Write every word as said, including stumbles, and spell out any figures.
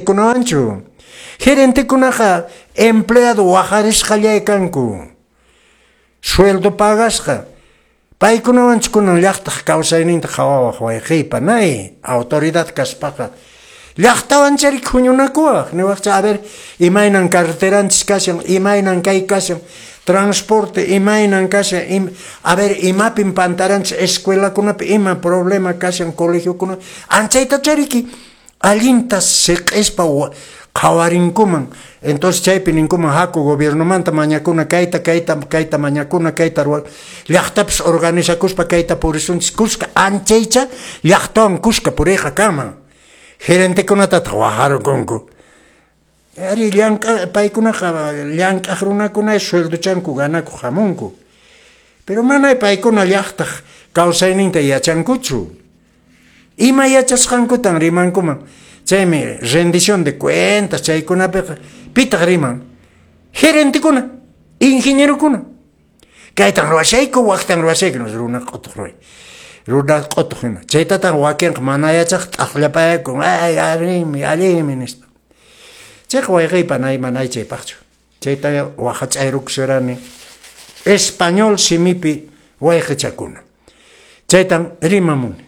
Gerentekunawanchu. Gerentekunaqa empleado waqarisqallay kanku. Sueldo pagasqa. Paykunawanchu kunan llaqtaq kawsayninta qhawawaq, wayqiypa, panay, autoridad kaspaqa. Llaqtawan chari huñunakuwaq, niwaqcha, a ver, imaynan carreteranchis kashan, imaynan kay kashan, transporte imaynan kashan, im, a ver, imapin pantaranchis, escuelakunapi ima problema kashan, colegiokuna, anchayta chariki, allinta siq'ispa qhawarinkuman. Entonces chaypi ninkuman, haku gobiernomanta mañakuna kayta, kayta, kayta mañakuna, kayta ruwa, llaqtapis organizakuspa kayta purisunchis kuska, anchaycha llaqtawan kuska puriyqa kanman. Gerentekunatataq wajarkunku. Ari llank'a paykunaqa llank'aq runakuna sueldochanku ganakuq hamunku. Pero mana paykuna llaqtaq kawsayninta yachankuchu. Ima yachasqankutan rimankuman. Chaymi rendición de cuentas chaykunapiqa pitaq riman. Gerentekuna, ingenierokuna. Kaytan ruwashayku, waqtan ruwashayku, runa q'utuq ruway. Runa q'utuq hina. Chaytataq wakinqa mana yachaq t'aqllapayakun, ay, allinmi, allinmi nispa. Chayqa wayqiypa nay manay chaypaqchu. Chayta waqach'ayrukushurani español simipi wayqichakuna. Chaytan rimamuni.